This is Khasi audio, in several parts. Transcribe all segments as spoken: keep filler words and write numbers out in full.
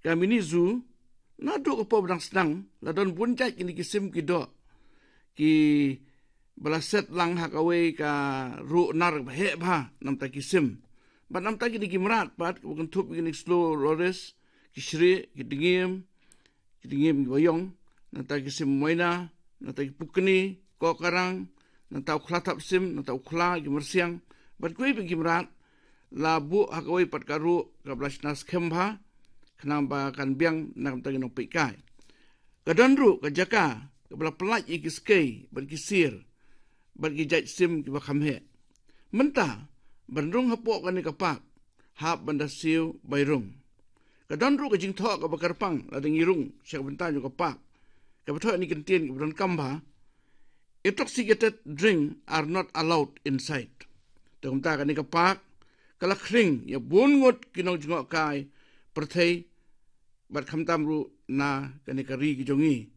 ka mini zoo, naduh ka por ba dang sdang la don bun jait kine ki sim ki doh, kiba la set lang ha kawei ka ruh nar ba heh bha namta ki sim. Bad namta kine ki mrad pat kiba kynthup ïa kine ki slow loris, ki shrieh, ki dngiem, ki dngiem kiba ïong, nangta ki sim moina, nangta ki pukni, kokarang, nangta u khla thap sim, nangta u khla, ki myrsiang, bad kiwei pat ki mrad, la buh ha kawei pat ka ruh kaba la shna skhem bha, khnang ba kan biang na ka bynta ki nongpeitkai. Ka don ruh ka jaka kaba la pyllait ïa ki skei bad ki sier bad ki jait sim kiba kham heh. Mynta ban rung hapoh kane ka park, hap ban da siew bai rung. Ka don ruh ka jingthoh kaba kyrpang lada ngi rung sha ka bynta jong ka park, kaba thoh ïa kine ki kyntien kiba donkam bha: "Intoxicated drink are not allowed inside." Te kumta kane ka park ka la khring ïa bun ngut ki nongjngohkai pyrthei bad khamtam ruh na kane ka ri ka jong ngi.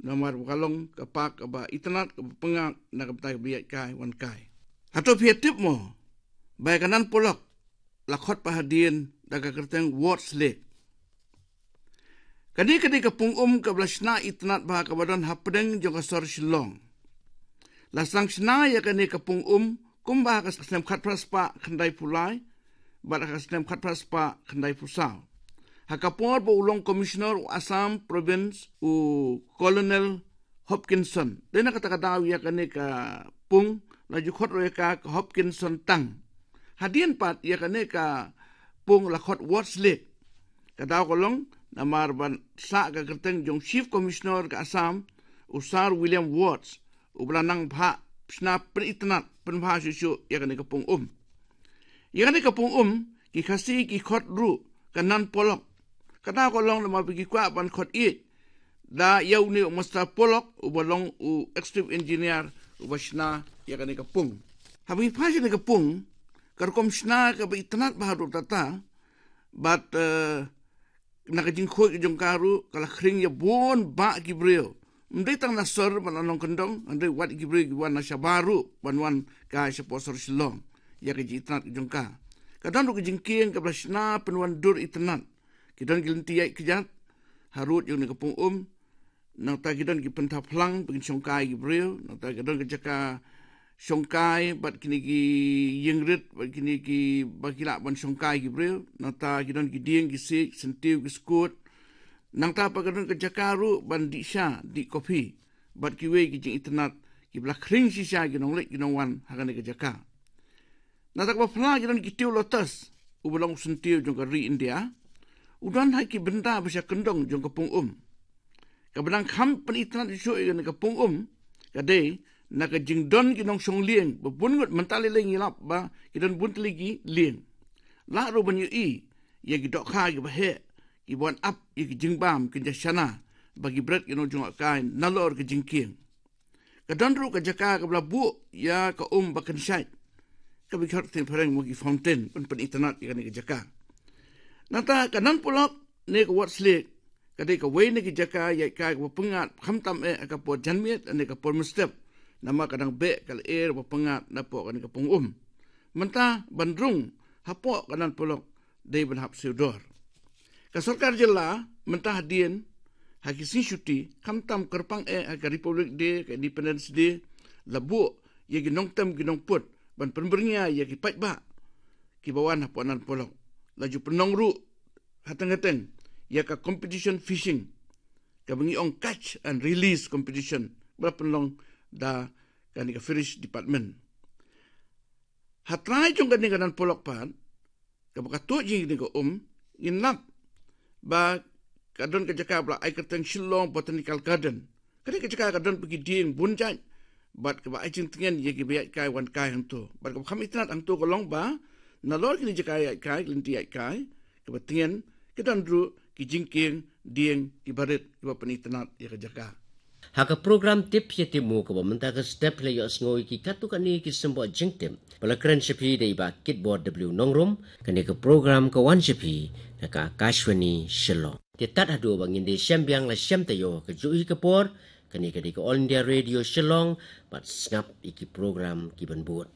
Namar ba ka long ka park kaba itynnad, kaba pyngngad na ka bynta kiba ïaid kai wan kai. Hato phi ïa tip mo ba ïa ka Nan Polok la khot pat hadien da ka kyrteng Ward's Lake? Kane ka dei ka pung um kaba la shna itynnad bha kaba don hapdeng jong ka sor Shillong. La sdang shna ïa kane ka pung um kumba ha ka snem khatphra spah khyndaiphew lai bad ha ka snem khatphra spah khyndaiphew saw, ha ka por ba u long Commissioner u Assam Province, u Colonel Hopkinson. Dei na kata ka daw ïa kane ka pung la ju khot ruh ïa ka ka Hopkinson Tang. Hadien pat ïa kane ka pung la khot Ward's Lake. Ka daw ka long namar ban sah ka kyrteng jong Chief Commissioner ka Assam, u Sir William Wards, uba la nang bha shna pynitynnad pynbha shuh shuh ïa kane ka pung um. Ïa kane ka pung um ki Khasi ki khot ruh ka Nan Polok. Ka daw ka long namar ba ki kwah ban khot ïeit da ïa une u Master Pollock uba long u executive engineer uba shna ïa kane ka pung. Haba ngi phai sha kane ka pung, ka rukom shna kaba itynnad bha ruh kata, bad, eh, na ka jingkhuid ka jong ka ruh ka la khring ïa bun bah ki briew. Ym dei tang na sor bad na nongkyndong, hynrei wat ki briew ki wan na shabar ruh ban wan kai shapoh sor Shillong ïa ka jingitynnad ka jong ka. Ka don ruh ka jingkieng kaba la shna pynwandur itynnad. Ki don ki lynti ïaid kjat harud jong kane ka pung um. Nangta ki don ki pynthap phlang ba kin shongkai ki briew. Nangta ki don ki jaka shongkai bad kine ki ïingrit bad kine kiba ki lah ban shongkai ki briew. Nangta ki don ki dieng, ki siej, syntiew, ki skud. Nangta pat ki don ki jaka ruh ban dih sha, dih kopi bad kiwei ki jingitynnad kiba la khring shisha ki nongleit ki nongwan ha kane ka jaka. Na kata kaba phla ki don ki tiew lotus, uba long u syntiew jong ka ri India, u don ha ki bynta ba sha kyndong jong ka pung um. Kaba dang kham pynitynnad shuh ïa kane ka pung um ka dei na ka jingdon ki nongshong lieng ba bun ngut, mynta lei lei ngi lap ba ki don bun tylli ki lieng. Lah ruh ban ïohi ïa ki dohkha kiba heh kiba wan ap ïa ki jingbam, ki jingshana ba ki bret ki nongjngohkai nalor ka jingkieng. Ka don ruh ka jaka kaba la buh ïa ka um ba kynshait, kaba ki khot ktien phareng mo ki fountain, ban pynitynnad ïa kane ka jaka. Nangta ka Nan Polok ne ka Ward's Lake ka dei kawei na ki jaka ïaid kai kaba pyngngad, khamtam eh ha ka por janmiet ne ka por mynstep, namar ka dang beh ka lyer ba pyngngad napoh kane ka pung um. Mynta ban rung hapoh ka Nan Polok dei ban hap siew dor. Ka sorkar jylla mynta hadien ha ki sngi shuti, khamtam kyrpang eh ha ka Republic Day, ka Independence Day, la buh ïa ki nongtem ki nongput ban pynbyrngia ïa ki paidbah kiba wan hapoh Nan Polok. La ju pynlong ruh hateng hateng ïa ka competition fishing, kaba ngi ong catch and release competition, ba la pynlong da kane ka Fisheries Department. Ha trai jong kane ka Nan Polok pat, kaba ka tuid jong kane ka um, ngin lap ba ka don ka jaka ba la ai kyrteng Shillong Botanical Garden. Kane ka jaka ka don bad ki dieng bun jait bad kaba ai jingtngen ïa kiba ïaid kai wan kai hangto. Bad kaba kham itynnad hangto ka long ba nalor kine ki jaka ïaid kai, ki lynti ïaid kai, kaba tngen, ki don ruh ki jingkieng dieng kiba rit kiba pynitynnad ïa ka jaka. Ha ka program Tip Phi Tip Mo kaba mynta ka step, la ïohsngew ïa ki katto katne ki symboh jingtip ba la kren sha phi da i Bah Kitbor W Nongrum. Kane ka program ka wan sha phi na ka Akashvani Shillong. Te tad haduh ba ngin da shem biang la shem taïew ha kajuh hi ka por, kane ka dei ka All India Radio Shillong, bad sngap ïa ki program kiban bud.